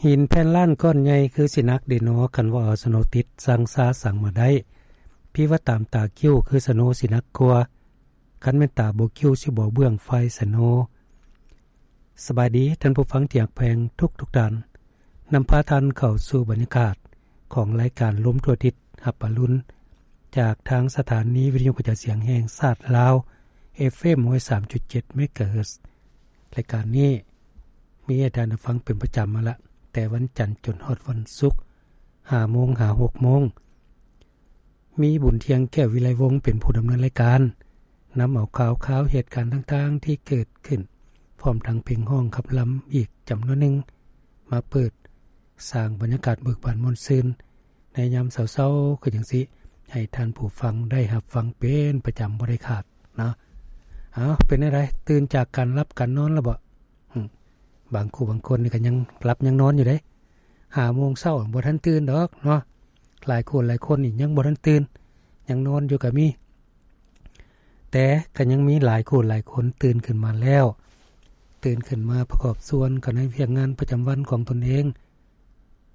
ຫີນແຜ່ນລ້ານກ້ອນໃຫຍ່ຄືຊິໜັກເດນໍ ຄັນວ່າເອົາສະໂນຕິດ ຊ່າງຊ້າຊ່າງມາໄດ້ ພີ່ວ່າຕາມຕາຄິ້ວຄືສະໂນຊິໜັກກວ່າ ຄັນແມ່ນຕາບໍ່ຄິ້ວຊິບໍ່ເບື້ອງຝ່າຍສະໂນ. ສະບາຍດີທ່ານຜູ້ຟັງທີ່ຮັກແພງທຸກໆທ່ານ, ນຳພາທ່ານເຂົ້າສູ່ບັນຍາກາດຂອງລາຍການລົມທົ່ວທິດຮັບອະລຸນ ຈາກທາງສະຖານີວິທະຍຸກະຈາຍສຽງແຫ່ງຊາດລາວ ເອັຟເອັມ ຮ້ອຍສາມຈຸດເຈັດ ເມກາເຮີດ. ລາຍການນີ້ມີໃຫ້ທ່ານໄດ້ຟັງເປັນປະຈຳມາລະ ແຕ່ວັນຈັນຈົນຮອດວັນສຸກ ຫ້າໂມງຫາຫົກໂມງ. ມີບຸນ ທ່ຽງແກ້ວ ວິໄລວົງ ເປັນຜູ້ດຳເນີນລາຍການ, ນຳເອົາຂ່າວຄາວເຫດການຕ່າງໆທີ່ເກີດຂຶ້ນ ພ້ອມທັງເພງຮ້ອງຂັບລຳອີກຈຳນວນໜຶ່ງ ມາເປີດສ້າງບັນຍາກາດເບີກບານມ່ວນຊື່ນ ໃນຍາມເຊົ້າໆ ຄືຈັ່ງຊີ້ ໃຫ້ທ່ານຜູ້ຟັງໄດ້ຮັບຟັງເປັນປະຈຳບໍ່ໄດ້ຂາດເນາະ. ເອົາ ເປັນແນວໃດ? ຕື່ນຈາກການຫຼັບການນອນແລ້ວບໍ? ອືມ ບາງຄູ່ບາງຄົນນີ້ກໍຍັງຫຼັບຍັງນອນຢູ່ເດ້, ຫ້າໂມງເຊົ້າບໍ່ທັນຕື່ນດອກເນາະ. ຫຼາຍຄູ່ຫຼາຍຄົນນີ້ຍັງບໍ່ທັນຕື່ນ ຍັງນອນຢູ່ກໍມີ. ແຕ່ກໍຍັງມີຫຼາຍຄູ່ຫຼາຍຄົນຕື່ນຂຶ້ນມາແລ້ວ, ຕື່ນຂຶ້ນມາປະກອບສ່ວນກັນໃນວຽກງານປະຈຳວັນຂອງຕົນເອງ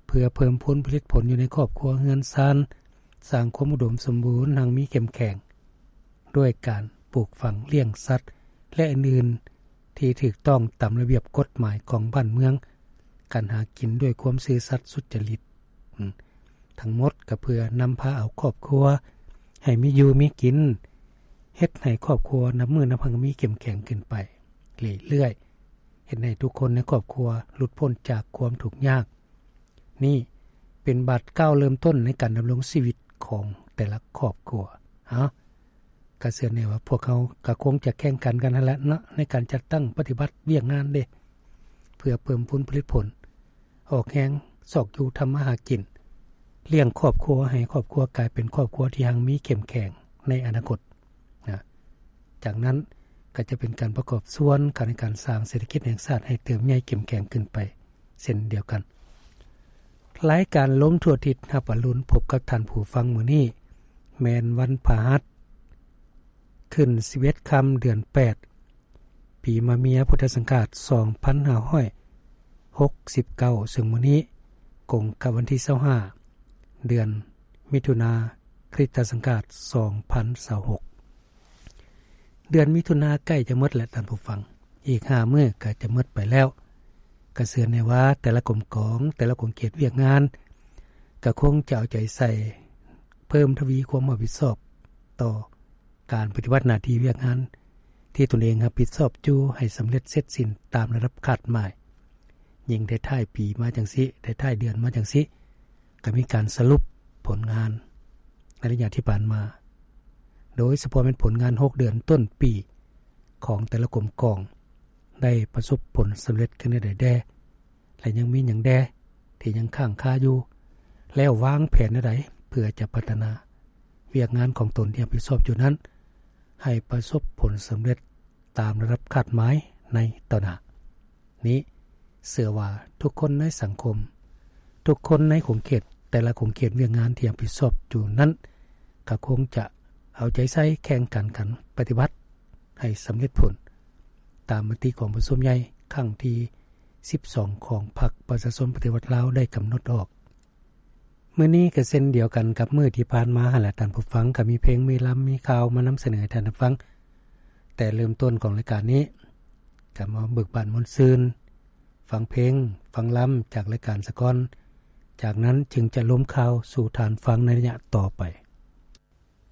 ເພື່ອເພີ່ມພູນຜະລິດຜົນຢູ່ໃນຄອບຄົວເຮືອນຊານ, ສ້າງຄວາມອຸດົມສົມບູນຮັ່ງມີເຂັ້ມແຂງ ດ້ວຍການປູກຝັງ, ລ້ຽງສັດ ແລະ ອື່ນໆ ທີ່ຖືກຕ້ອງຕາມລະບຽບກົດໝາຍຂອງບ້ານເມືອງ, ການຫາກິນດ້ວຍຄວາມຊື່ສັດສຸດຈະລິດ. ອືມ ທັງໝົດກໍເພື່ອນຳພາເອົາຄອບຄົວໃຫ້ມີຢູ່ມີກິນ, ເຮັດໃຫ້ຄອບຄົວນັບມື້ນັບຄັ້ງມີເຂັ້ມແຂງຂຶ້ນໄປເລື້ອຍໆ, ເຮັດໃຫ້ທຸກຄົນໃນຄອບຄົວຫຼຸດພົ້ນຈາກຄວາມທຸກຍາກ. ນີ້ເປັນບາດກ້າວເລີ່ມຕົ້ນໃນການດຳລົງຊີວິດຂອງແຕ່ລະຄອບຄົວ. ເອົາ ກະເຊື່ອແນ່ວ່າພວກເຮົາກະຄົງຈະແຂ່ງຂັນກັນຫັ້ນແຫຼະເນາະ ໃນການຈັດຕັ້ງປະຕິບັດວຽກງານເດ້ ເພື່ອເພີ່ມພູນຜະລິດຜົນ, ອອກແຮງຊອກຢູ່ທຳມາຫາກິນ, ລ້ຽງຄອບຄົວ ໃຫ້ຄອບຄົວກາຍເປັນຄອບຄົວທີ່ຮັ່ງມີເຂັ້ມແຂງໃນອະນາຄົດນະ. ຈາກນັ້ນກໍຈະເປັນການປະກອບສ່ວນກັນໃນການສ້າງເສດຖະກິດແຫ່ງຊາດໃຫ້ເຕີບໃຫຍ່ເຂັ້ມແຂງຂຶ້ນໄປເຊັ່ນດຽວກັນ. ລາຍການລົມທົ່ວທິດຮັບອະລຸນ ພົບກັບທ່ານຜູ້ຟັງມື້ນີ້ ແມ່ນວັນພະຫັດ ຂຶ້ນສິບເອັດຄ່ຳ ເດືອນແປດ ປີມະເມຍ ພຸດທະສັງກາດ ສອງພັນຫ້າຮ້ອຍຫົກສິບເກົ້າ ເຊິ່ງມື້ນີ້ກົງກັບວັນທີຊາວຫ້າ ເດືອນມິຖຸນາ ຄຣິສຕະສັງກາດ ສອງພັນຊາວຫົກ. ເດືອນມິຖຸນາໃກ້ຈະໝົດແລ້ວທ່ານຜູ້ຟັງ, ອີກຫ້າມື້ກໍຈະໝົດໄປແລ້ວ. ກະເຊື່ອແນ່ວ່າແຕ່ລະກົມກອງ, ແຕ່ລະຂົງເຂດວຽກງານ ກະຄົງຈະເອົາໃຈໃສ່ເພີ່ມທະວີຄວາມຮັບຜິດຊອບຕໍ່ການປະຕິບັດໜ້າທີ່ວຽກງານທີ່ຕົນເອງຮັບຜິດຊອບຢູ່ໃຫ້ສຳເລັດເສັດສິ້ນຕາມລະດັບຄາດໝາຍ. ຍິ່ງໄດ້ທ້າຍປີມາຈັ່ງຊີ້, ໄດ້ທ້າຍເດືອນມາຈັ່ງຊີ້, ກໍມີການສະຫຼຸບຜົນງານໃນໄລຍະທີ່ຜ່ານມາ, ໂດຍສະເພາະແມ່ນຜົນງານຫົກເດືອນຕົ້ນປີຂອງແຕ່ລະກົມກອງ ໄດ້ປະສົບຜົນສຳເລັດຂຶ້ນແນວໃດແດ່ ແລະ ຍັງມີຫຍັງແດ່ທີ່ຍັງຄ້າງຄາຢູ່ ແລ້ວວາງແຜນແນວໃດເພື່ອຈະພັດທະນາວຽກງານຂອງຕົນທີ່ຮັບຜິດຊອບຢູ່ນັ້ນ ໃຫ້ປະສົບຜົນສຳເລັດຕາມລະດັບຄາດໝາຍໃນຕໍ່ໜ້າ. ນີ້ເຊື່ອວ່າທຸກຄົນໃນສັງຄົມ, ທຸກຄົນໃນຂົງເຂດ, ແຕ່ລະຂົງເຂດວຽກງານທີ່ຮັບຜິດຊອບຢູ່ນັ້ນ ກໍຄົງຈະເອົາໃຈໃສ່ແຂ່ງຂັນກັນປະຕິບັດໃຫ້ສຳເລັດຜົນ ຕາມມະຕິກອງປະຊຸມໃຫຍ່ຄັ້ງທີສິບສອງ ຂອງພັກປະຊາຊົນປະຕິວັດລາວໄດ້ກຳນົດອອກ. ມື້ນີ້ກໍເຊັ່ນດຽວກັນກັບມື້ທີ່ຜ່ານມາຫັ້ນແຫຼະທ່ານຜູ້ຟັງ, ກໍມີເພງ, ມີລຳ, ມີຂ່າວມານຳສະເໜີໃຫ້ທ່ານໄດ້ຟັງ. ແຕ່ເລີ່ມຕົ້ນຂອງລາຍການນີ້ ກໍມາເບີກບານມ່ວນຊື່ນ, ຟັງເພງ, ຟັງລຳຈາກລາຍການສາກ່ອນ, ຈາກນັ້ນຈຶ່ງຈະລົມຂ່າວສູ່ທ່ານຟັງໃນໄລຍະຕໍ່ໄປ.